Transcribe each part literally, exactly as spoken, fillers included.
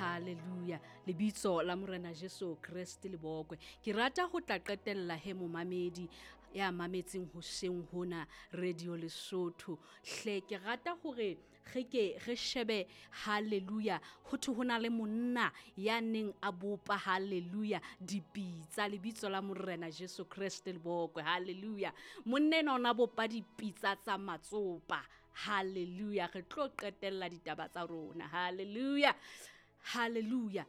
Hallelujah. Lebitso la Morena Jesu Kreste le bokwe. Ke rata ho tla qetella he momamedi ya mametseng hoseng hona Radio Lesotho. Hle ke rata hore re ke re shebe, hallelujah, ho thwe ho na le monna ya neng a bopa, hallelujah, dipitsa. Lebitso la Morena Jesu Kreste le bokwe. Hallelujah. Monna enwa o na bopa dipitsa tsa matsopa. Hallelujah. Re tlo qetella ditaba tsa rona. Hallelujah. Hallelujah.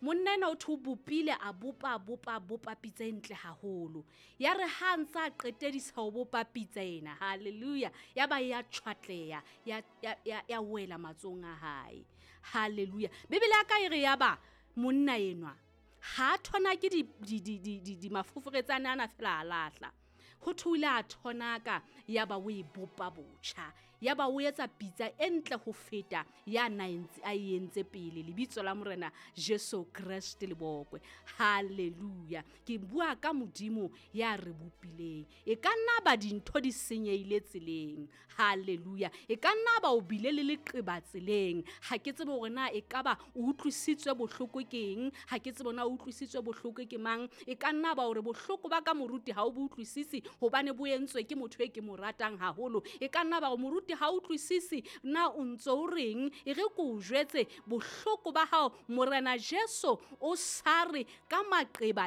Monna enwa o thwe o bopile, a bopa, a bopa, a bopa pitsa e ntle haholo. Ya re ha ntsa a qetedisa ho bopa pitsa ena, hallelujah, ya ba ya tjhwatleha, ya, ya, ya, ya wela matsohong a hae. Hallelujah. Bibele ya ka e re ya ba monna enwa ha a thonake di, di, di, di, di, di mafoforetsane ana fela a lahla. Ho thwe o ile a thonaka, ya ba o e bopa botjha. Ya ba o etsa pitsa e ntle ho feta ya na entse, a e entse pele. Lebitso la Morena Jesu Kreste le bokwe. Hallelujah. Ke bua ka Modimo ya re bopileng. E ka nna ba dintho di senyehile tseleng. Hallelujah. E ka nna ba o bile le leqeba tseleng. Ha ke tsebe hore na e ka ba o utlwisitswe bohloko ke eng. Ha ke tsebe na o utlwisitswe bohloko ke mang. E ka nna ba hore bohloko ba ka moruti ha o bo utlwisisi hobane bo entswe ke motho e ke mo ratang haholo. E ka nna ba hore moruti ha o utlwisisi na o ntso o reng. E re ke o jwetse bohloko ba hao, Morena Jesu o sa re ka maqeba